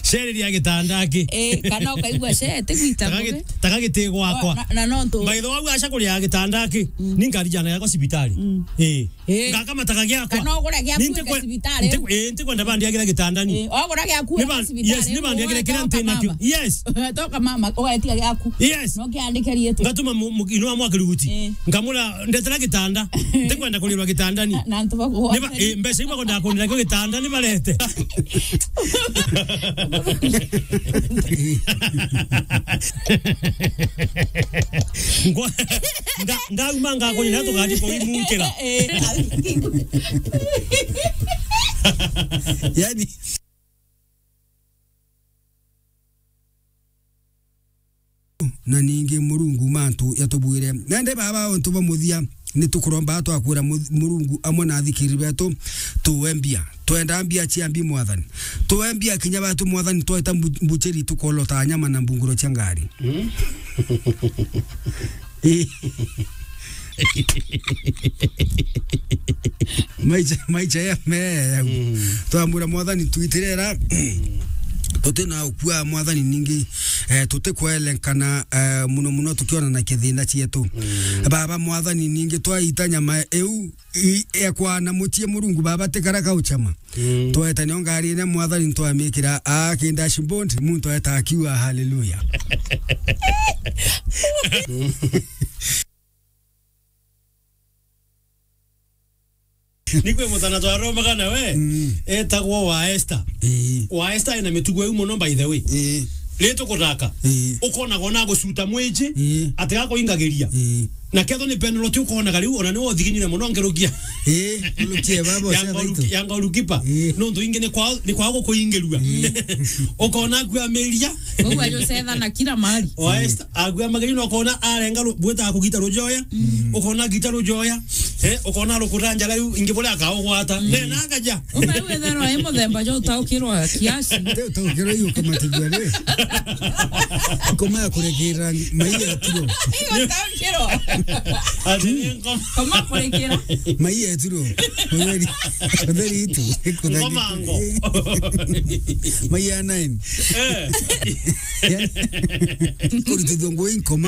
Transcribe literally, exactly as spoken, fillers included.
Ceri ria gitanda aki. Eh, kana ukaigua ce, ti gwita ngugi. Taka giti gwakwa. Na, na no ntu. By the way, aca kuria gitanda aki. Mm. Ni ngari jana yakwa cibitari. Mm. Eh. Eh. Ngakamataga giakwa. Kana ugure giaku. Ni ntikwe-, cibitari. Ntiku-, eh, ntikwenda bandiagira gitandani. Eh, ugure giaku. Ni ban-, cibitari. Yes, ni bandiagira kiria nti nakio. Yes. Toka mama, ugetia giaku. Yes. No kiandike rietwa. Ngatuma mu-, mu-, inua mwa kiruguti. Eh. Nkamura, "Ndetera gitanda." Ntikwenda kurirwa gitandani. Na antu baku. Ni ba-, eh, mbeca iu bakwenda kunira kio gitanda ni barete. Ngwa-, nda-, ndauma ngakunyira tugathi kuimukira. Eh. Yani, na ningi Murungu mantu yatubwire. Nende baba, untu bwa muthia, ni tukuromba twakwira mu-, Murungu amwe na athikiri betu, tuwe mbia. Twenda mbia cia mbi, Mwathani. Tuwe mbia kinya batu, Mwathani, tweta mbu-, mbucheri tukolota nyama na mbunguro cia ngari. Mm. Maicha, maicha ya me ya. Mm. Twamwira Mwathani, twitirera. Tutina ukua, Mwathani, ningi, eh, tutikwelenkana, eh, muno muno tukionana kithina cietu. Mm. Baba, Mwathani, ningi twaita nyama iu i-, ekwa na muchie, Murungu Baba, tikara kauchama. Mm. Tweta nio ngari ine, Mwathani, ntwamikira a ki dashboard, muntu eta akiuga, "Hallelujah." Nikwe mutana twaromaga nawe, mm, etagwo wa Esther. Ii. Wa Esther ena mitugo iu muno, by the way. Ii. Ri tukutaka. Ii. Ukonaga ona gucuta mwiji, ii, atiga kuingagiria. Ii. Na ketho ni penalty ukonaga riu, ona ni wothiginire muno ngerukia. Ii, ngerukia baba, ya cia ngolu-, thaitu, ya goalkeeper. Ii. Nontu ingi ni kwa, ni kwa gukuingirua. Ii. Ukona akuamiria. Koguo ajucethana kila mahali. Wa Esther, akuamagiria na ukona arenga ru-, bwita kugita rujoya. Mm. Ukona gita rujoya. Eh, ukona rukuta njara yu ingi buria akaugwata. Mm. Ne na akaja. Uka yu wethero ai muthemba jo utaukirwa kiasi. Te utaukirwa yu kama tujua ni. Ngoma ya kurekera mai ya tiro. Utaukirwa. Ati ni ngoma. Ngoma kurekera. Mai ya tiro. Utheri. Utheri itu. Ngoma ngo. Mai ya nine. Eh. Kurutithua ngui ngoma.